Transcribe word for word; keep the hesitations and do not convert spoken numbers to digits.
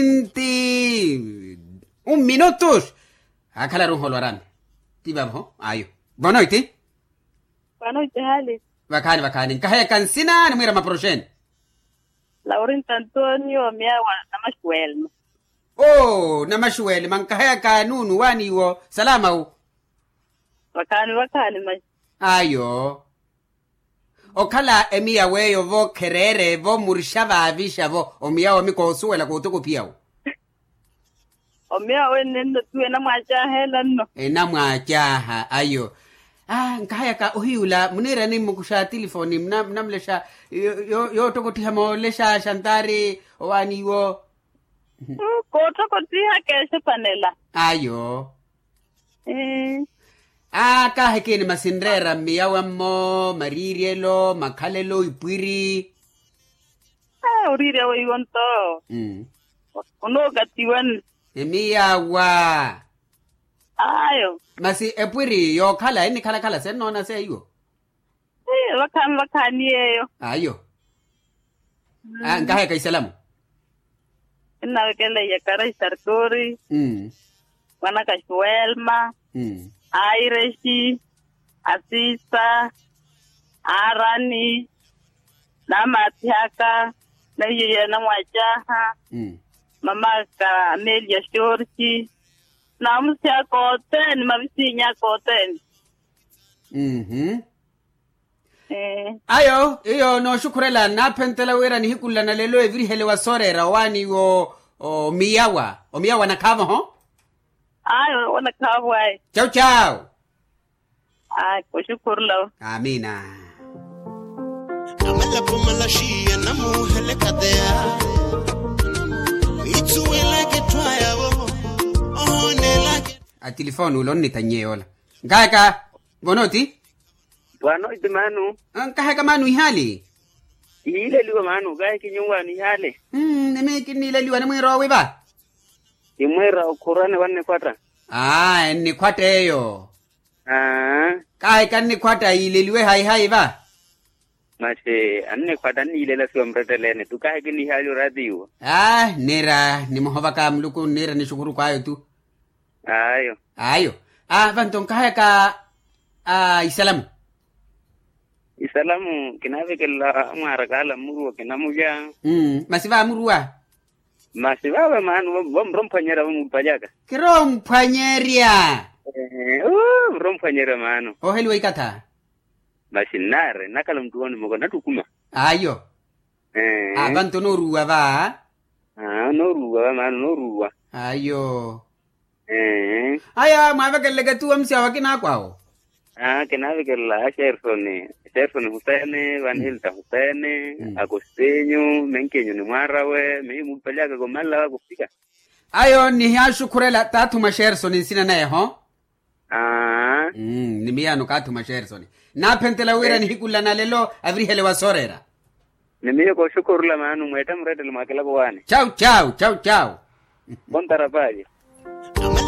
Nti un minutos. Akhala ruho lwarami. Ti vavo ayo. Bonoiti. Bonoiti hali. Vakhaani vakhaani nkahayaka nsina nimwiira maporoxeni. Laurinto antonio miyawa. Namaxuwelma. Oo namaxuwelma nkahayaka nuunu waaniiwo salama wu. Vakhaani vakhaani mayi. Ayo. Okhala emiyaweyo-vo khereere-vo murixa vaavixa-vo omiyawa mi koosuwela kootokophiya-wo. Omiyawa wenne nno tiwe enamwaacaaha ela nno. Enamwaacaaha ayo. Aa nkahayaka ohiyula muniirani mmukuxa atilifoni muna munamulexa. Yoottokottiha moolexa xantaari owaani iwo. Koottokottihaka exepanela. Ayo. Aakaaha ekiini masi nreera mmiyawammo mariiryelo makhalelo ipwiri. Oriirya weiwo nto. Onookatiwani. Emiyawa. Ayo. Masi epwiri yookhala ennikhalakhala sennoona seiwo. Vakhaani vakhaani yeeyo. Ayo. Nkahayaka isalamu. Ennavekelela iyakara isartori. Mwanaka xuwelma. Airexi. Asisa. Arani. Namaathihaka. Naiyeya namwacaha. Mamaka amelia xorxi. Namusihaka othene mavisiinyaka othene. Ayo iyo nooxukhurela naaphentela wira nihiku nla nalelo evirihele wa sooreera owaani wo. Omiyawa omiyawa nakhaavo ho. Ayo onakhaavu ayi. Chau chau. Ayi oxukhurula. Amina. Amalapo malaxiya namuhelekateya. Ithuwelaka etthwayavo. Ohoonelaka. Atilifoni ula onnitannye yoola. Nkaheka. Vonoti. Vano iti manu. Nkaheka manu ihaali. Ihiileliwa manu kahi kinyuwaani ihaali. Nimi kinniileliwa nimwiira owi va. Kimwiira okhurani wannikhwatta. Aa ennikhwatta eyo. Kahi kannikhwatta yiileliwe hayi hayi va. Masi annikhwatta anniilela siwa mrettelene tu kahi kinnihaali oraatiwa. Aa nniira nimuhovaka muluku nniira nixukuruku ayo tu. Ayo. Ayo. Aa vanto nkahayaka. Isalamu. Isalamu kinaavekelela amwaarakaala mmuruwa kinamulya. Masi vaamuruwa. Masi vaava maano vamuromphwanyerya vamupalyaka. Kiromphwanyerya. Muromphwanyerya maano. Oheliwa ikatha. Masi nnaari nnakhala muttuwani moko nattukuma. Ayo. Avanto nooruwa va. Nooruwa va maano nooruwa. Ayo. Aya mwaavekeleleke tu amusiawe akinaakwawo. Kinaavekelela axersoni. Axersoni husene vanhilta husene. Akostinyu menkenyu ni mwaarawe mihimuupalyaka komalala vakukhwika. Ayo nihiyaaxukhurela t'athuma axersoni nsina naye ho. Ni miyaano kaathuma axersoni. Naaphentela wira nihiku nla nalelo avirihele wa sooreera. Ni miyo kooxukhurula maano mweetta murettele mwaakilako waani. Chau chau chau chau. Kontara paayi.